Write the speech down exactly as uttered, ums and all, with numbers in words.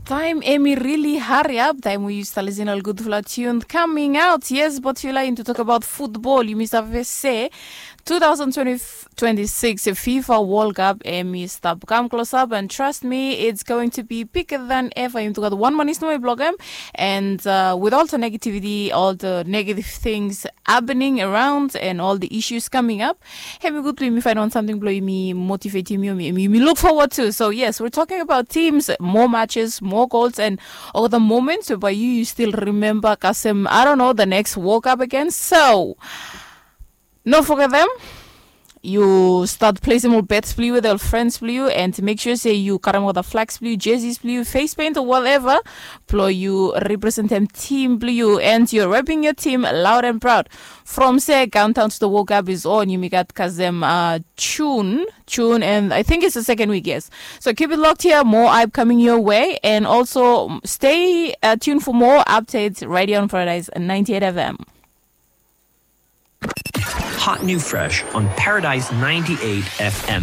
Taem em i rili hariap taem we yu stap lisin ol gudfala tune coming out. Yes, but yu laik tu tok abaot futbol, yumi save se twenty-six fifa world cup em i stap kam klosap, and trust me, it's going to be bigger than ever. Yumi tu gat wan manis nomo i blokem, and uh, with all the negativity, all the negative things happening around and all the issues coming up, em i gud blong yumi fain wan samting blong yumi motivate yumi, yumi, yumi look forward to. So yes, we're talking about teams, more matches, more goals, and all the moments whereby you, you still remember kasem, I don't know, the next world cup again. So no forget them. You start placing more bets blong you with your friends blong you, and make sure say you karem all the flags blong you, jerseys blong you, face paint or whatever, blong you represent them team blong you, and you're repping your team loud and proud. From se countdown to the world cup is on, yumi gat kasem uh, June, June, and I think it's the second week, yes. So keep it locked here, more hype coming your way, and also stay uh, tuned for more updates right here on Paradise ninety-eight F M. Hot new fresh on Paradise ninety-eight F M.